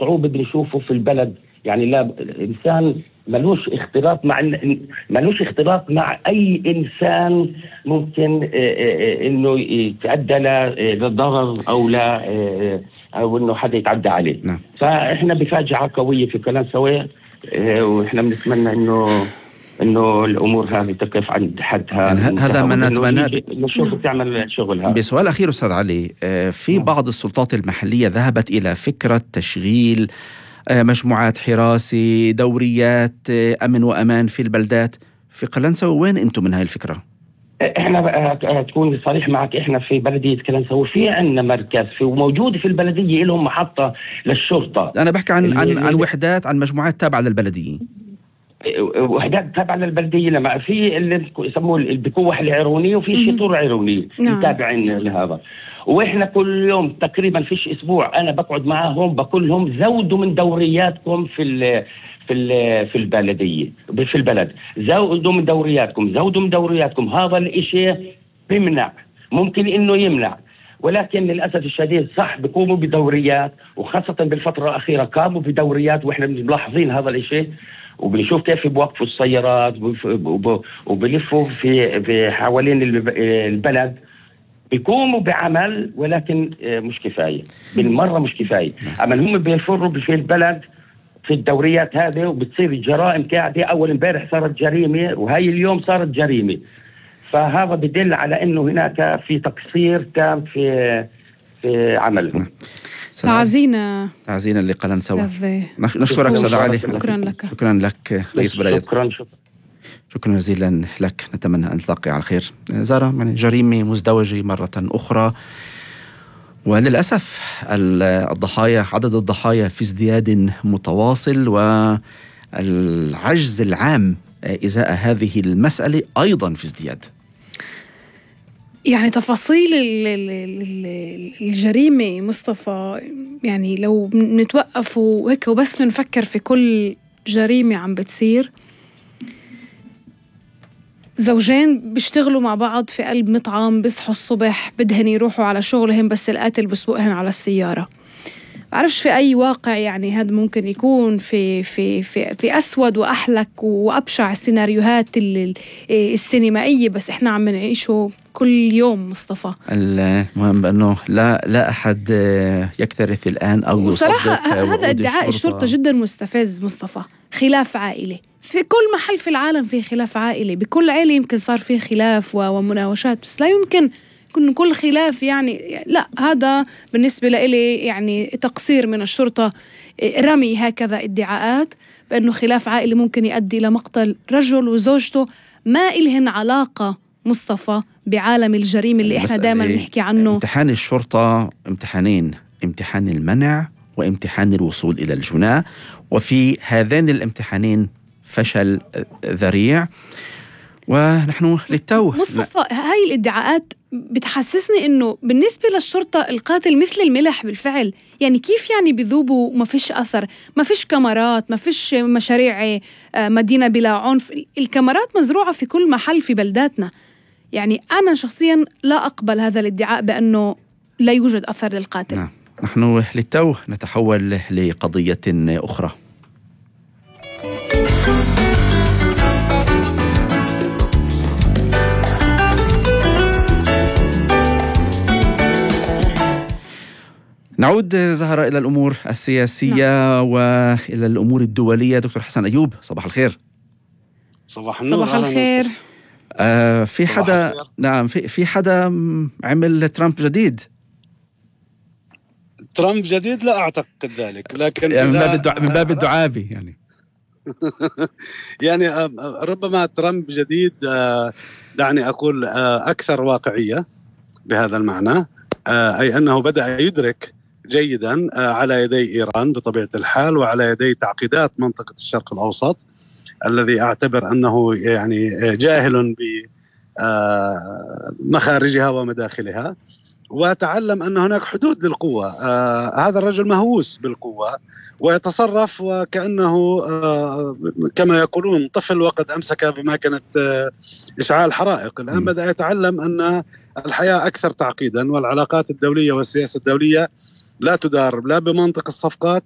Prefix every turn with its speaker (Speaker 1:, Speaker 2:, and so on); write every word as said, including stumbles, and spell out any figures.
Speaker 1: صعوبة بنشوفه في البلد. يعني لا الإنسان ملوش اختلاط مع ملوش اختلاط مع أي إنسان ممكن إنه يتعدى لضرر أو لا أو إنه حدا يتعدى عليه.
Speaker 2: نعم.
Speaker 1: فإحنا بفاجعة قوية في كلانسوي، وإحنا بنتمنى إنه إنه الأمور هذه تقف عند حدها.
Speaker 2: يعني هذا ما نتمناه.
Speaker 1: نشوف تعمل شغلها.
Speaker 2: بسؤال أخير أستاذ علي، في بعض السلطات المحلية ذهبت إلى فكرة تشغيل مجموعات حراسي، دوريات أمن وأمان في البلدات. في قلنسوي وين أنتم من هاي الفكرة؟
Speaker 1: إحنا تكون صريح معك، إحنا في بلدية قلنسوي في عنا مركز في وموجود في البلدية لهم محطة للشرطة.
Speaker 2: أنا بحكي عن عن عن وحدات، عن مجموعات تابعة للبلدية.
Speaker 1: وحدات تابعة للبلدية لما في اللي يسموه البكوح العيروني وفي الشطور العيروني متابعين لهذا. واحنا كل يوم تقريبا فيش اسبوع انا بقعد معاهم بقول لهم زودوا من دورياتكم في ال في ال في البلديه في البلد، زودوا من دورياتكم زودوا من دورياتكم. هذا الاشي بيمنع، ممكن انه يمنع، ولكن للاسف الشديد صح بيقوموا بدوريات، وخاصه بالفتره الاخيره قاموا بدوريات واحنا ملاحظين هذا الاشي، وبنشوف كيف بوقفوا السيارات وبلفوا في في حوالين البلد، بيقوموا بعمل ولكن مش كفاية بالمرة، مش كفاية. أما هم بيفروا في البلد في الدوريات هذه وبتصير الجرائم قاعدة. أول امبارح صارت جريمة وهي اليوم صارت جريمة، فهذا بدل على أنه هناك في تقصير تام في في عملهم.
Speaker 3: تعزينا
Speaker 2: تعزينا لقلنسوي. نشكرك أستاذ علي.
Speaker 3: شكرا لك.
Speaker 2: شكرا لك رئيس بلدية.
Speaker 1: شكرا شكرا
Speaker 2: شكرا جزيلا لك، نتمنى أن نلتقي على خير. زارة، يعني جريمة مزدوجة مرة أخرى، وللأسف الضحايا عدد الضحايا في ازدياد متواصل، والعجز العام إزاء هذه المسألة أيضا في ازدياد.
Speaker 3: يعني تفاصيل الجريمة مصطفى، يعني لو نتوقف وهيك وبس بنفكر في كل جريمة عم بتصير. زوجين بيشتغلوا مع بعض في قلب مطعم، بيصحوا الصبح بدهن يروحوا على شغلهم بس القاتل بسوقهن على السيارة. بعرفش في أي واقع يعني هذا ممكن يكون في في في في أسود وأحلك وأبشع السيناريوهات السينمائية، بس إحنا عم نعيشه كل يوم مصطفى.
Speaker 2: المهم بأنه لا لا أحد يكترث الآن أو يصدق.
Speaker 3: وصراحة هذا ادعاء الشرطة جدا مستفز مصطفى. خلاف عائلي في كل محل في العالم، في خلاف عائلي بكل عائلة يمكن صار فيه خلاف ومناوشات، بس لا يمكن يكون كل خلاف يعني لا. هذا بالنسبة لي يعني تقصير من الشرطة، رمي هكذا ادعاءات بأنه خلاف عائلي ممكن يؤدي إلى مقتل رجل وزوجته ما إلهن علاقة مصطفى بعالم الجريمة اللي إحنا دائما نحكي عنه.
Speaker 2: امتحان الشرطة امتحانين، امتحان المنع وامتحان الوصول إلى الجناة، وفي هذين الامتحانين فشل ذريع. ونحن للتو
Speaker 3: مصطفى هاي الادعاءات بتحسسني انه بالنسبة للشرطة القاتل مثل الملح بالفعل. يعني كيف يعني بذوبوا ما فيش اثر، ما فيش كاميرات، ما فيش مشاريع مدينة بلا عنف. الكاميرات مزروعة في كل محل في بلداتنا. يعني انا شخصيا لا اقبل هذا الادعاء بانه لا يوجد اثر للقاتل.
Speaker 2: نعم. نحن للتو نتحول لقضية اخرى. نعود زهرة إلى الأمور السياسية. نعم. وإلى الأمور الدولية. دكتور حسن أيوب، صباح الخير.
Speaker 4: صباح النور.
Speaker 3: صباح الخير.
Speaker 2: آه في حدا الخير. نعم في في حدا عمل ترامب جديد.
Speaker 4: ترامب جديد لا أعتقد ذلك، لكن
Speaker 2: يعني من باب الدع... من باب الدعابي يعني
Speaker 4: يعني ربما ترامب جديد، دعني أقول أكثر واقعية بهذا المعنى، أي أنه بدأ يدرك جيدا على يدي إيران بطبيعة الحال وعلى يدي تعقيدات منطقة الشرق الأوسط الذي أعتبر أنه يعني جاهل بمخارجها ومداخلها، وتعلم أن هناك حدود للقوة. هذا الرجل مهووس بالقوة ويتصرف وكأنه كما يقولون طفل وقد أمسك بماكينة إشعال حرائق. الآن بدأ يتعلم أن الحياة أكثر تعقيدا، والعلاقات الدولية والسياسة الدولية لا تدار لا بمنطق الصفقات